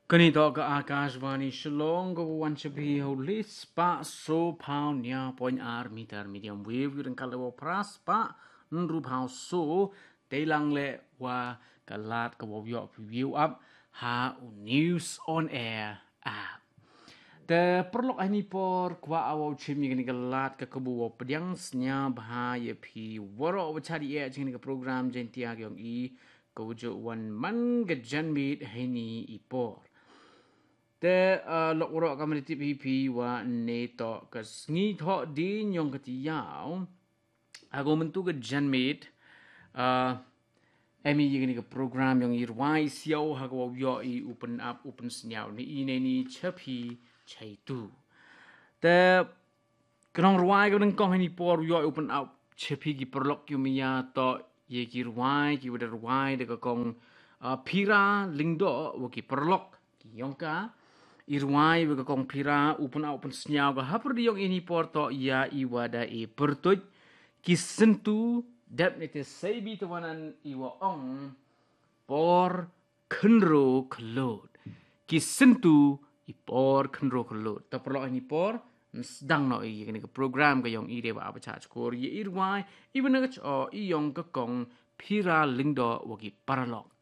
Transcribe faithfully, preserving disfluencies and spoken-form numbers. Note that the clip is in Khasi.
Kane toh ka Akashvani Shillong, ka wan sha phi ha u lai spah so phaw nia point ar meter medium wave, ïa u dang ka level phra spah hynriew phaw so, te lang le wa ka lad ka wow ïoh phi view up ha u News on Air app. Te paralok, ha ini por kwah wow chim ïa kane ka lad ka kabu wow pdiang sñiaw bha ïa phi waroh wa chad ïa kane ka program Jaiñtia ka yong i, ka wujud wan man ka janmiet ha ini i por. Te, ah, lok waroh ka mani tip hi phi wa ne toh ka sngi thoh dien yong ka tiaw. Ago myntu ka janmiet, ah, em i ïa kane ka program yong i rwai siaw ha ka wow ïoh i u pynap u pynsñiaw ni i ne ni cha phi cha itu. Te ka nongrwai ka nyngkong ha ini por u ïoh i u pynap cha phi ki paralok ki maya toh ïa ki rwai ki wa da rwai da ka kong, ah, Phira Lyngdoh wa ki paralok ki yong ka. I rwai wa ka kong Phira u pynap u pynsñiaw ka hapyrdi yong i ha ini por toh ïa i wa da i pyrtuid Ki Syntu, dep ne te sei bi te wa nan i wa ong Por Khynroo Khyllood. Ki Syntu, i Por Khynroo Khyllood. Te paralok, ha ini por yn sdang noh i ïa kane ka program ka yong i, dei wa ap chah chkor ïa i rwai i wa na ka chooh i yong ka kong Phira Lyngdoh wa ki paralok.